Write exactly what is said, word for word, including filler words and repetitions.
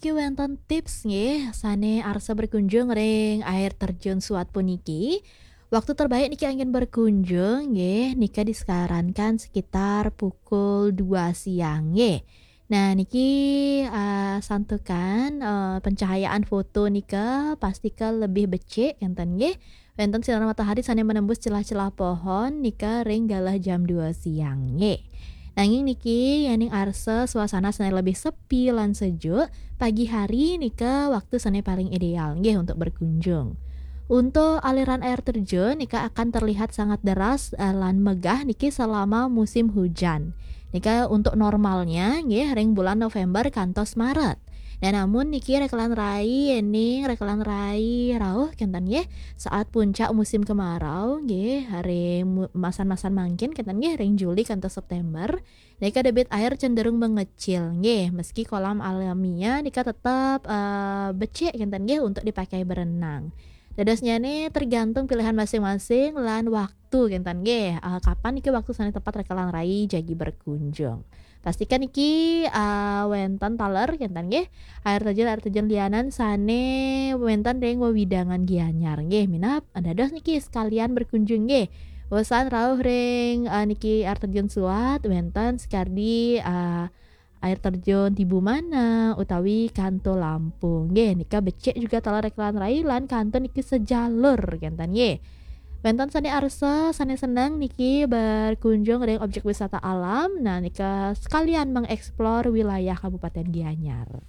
Niki wénten tips nggih, sané arsa berkunjung ring air terjun Suat puniki. Waktu terbaik niki anggén berkunjung nggih, nika disarankan sekitar pukul dua siang nggih. Nah, niki, eh, santukan, eh, pencahayaan foto nika pastika lebih becik kénten nggih. Wénten sinar matahari sané menembus celah-celah pohon nika ring galah jam dua siang nggih. Nanging niki yéning arsa suasana sané lebih sepi lan sejuk, pagi hari nika waktu sané paling ideal nggih untuk berkunjung. Untuk aliran air terjun nika akan terlihat sangat deras, eh, lan megah niki selama musim hujan. Nika untuk normalnya nggih ring bulan November kantos Maret. Dan namun niki rekelan rai, yéning rekelan rai rauh kénten nggih, saat puncak musim kemarau nggih, ring mu-, masan-masan mangkin kénten nggih, ring Juli kantos September. Nika debit air cenderung mengecil nggih, meski kolam alamiah nika tetap, eh, becik kénten nggih untuk dipakai berenang. Dadosnyané tergantung pilihan masing-masing lan waktu kénten nggih. Eh, kapan niki waktu sané tepat rekelan rai jagi berkunjung. Pastikan niki, eh, wénten taler kénten nggih. Air terjun, air terjun lianan sané wénten ring wewidangan Gianyar nggih. Minab dados niki sekalian berkunjung nggih. Wusan rauh ring, eh, niki air terjun Suat, wénten sakardi, eh, air terjun Tibu Mana utawi Kanto Lampung nggih. Nika becik juga taler rekelan rai lan kanto niki sejalur kénten nggih. Wénten sané arsa, sané seneng niki berkunjung ring objek wisata alam. Nah, nika sekalian mengeksplor wilayah Kabupaten Gianyar.